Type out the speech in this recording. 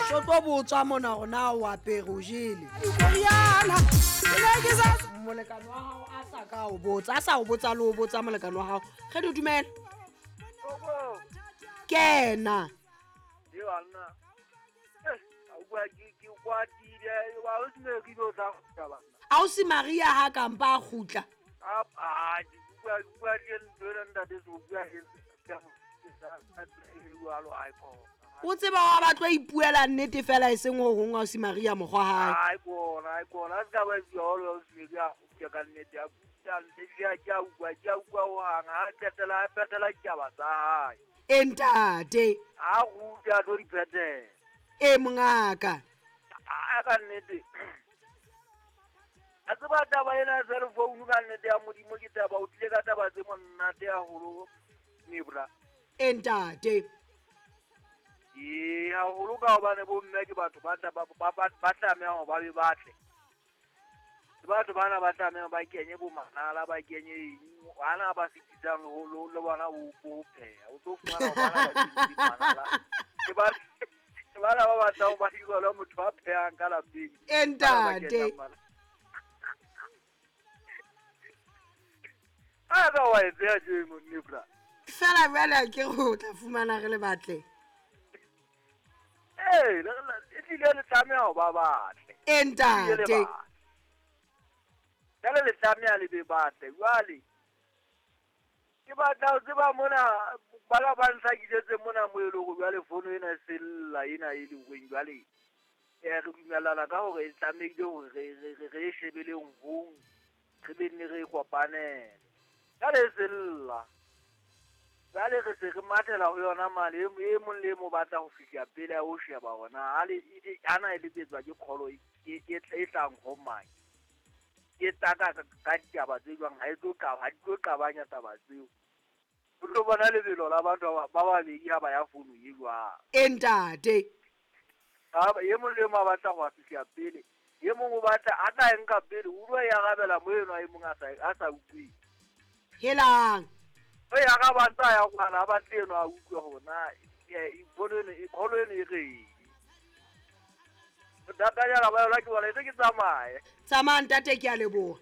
So tlo botswa mona gore na o apere o jele. Molekane wa gago a sa ka o botsa, a sa o botsa le o botsa molekane wa gago. Ge di dumela. Kena. Ausi Maria ha kampa a kgutla. O tseba wa ba tlo ipuela nnete fela e seng ho hong ausi Maria mokgwa hae. E ntate. A ruta tlo di phethela. E mongaka. A ka nnete. A tseba taba ena ya cell phone ka nnete ya Modimo ke taba o tlile ka taba tse monate haholo Nebra. E ntate. Ee, haholo ka hobane bo mme ke batho ba tlameha hore ba be batle. Ke batho bana ba tlameha ba kenye bo manala, ba kenye eng, bana ba fetisang le bona ho pheha. O tlo fumana bana ba kenye manala. Ke bana ba batlang ba hirelwa motho a phehang ka lapeng. E ntate. A ka wa e beha tjeno Nebra. Fela jwale ke go tla fumana re le batle. Ee, e tlile le tlameha ho ba batle. E ntate. Jwale le tlameha le be batle. Jwale ke batla ho tseba mona ba ba ntlhakisetse mona mo e leng hore jwale fono ena e sella ena e leng horeng jwale re dumellana ka hore e tlamehile hore re e shebeleng hong, re be nne re kopanele. Jwale e sella. Jwale re se re mathela ho yona mane, e mong le e mong batla ho fihla pele a o sheba hona. Ana e letsetswa ke kholo e tlang ho mang. Ke taka ka ditaba tse jwang, ha e tlo ha di tlo qabanya taba tseo. O tlo bona lebelo la batho ba babedi ha ba ya founu e jwang. E ntate. E mong le mong a batla ho fihla pele. E mong o batla a tla nka pele, o tlo e arabela mo eno e mong a sa utlwe. Helang. O ya ka batla ya kwana ba batle eno a utlwe hore na kholo eno e reng. Ntate ya ba yona ke bona e ke tsamaye. Tsamaya ntate, ke a leboha.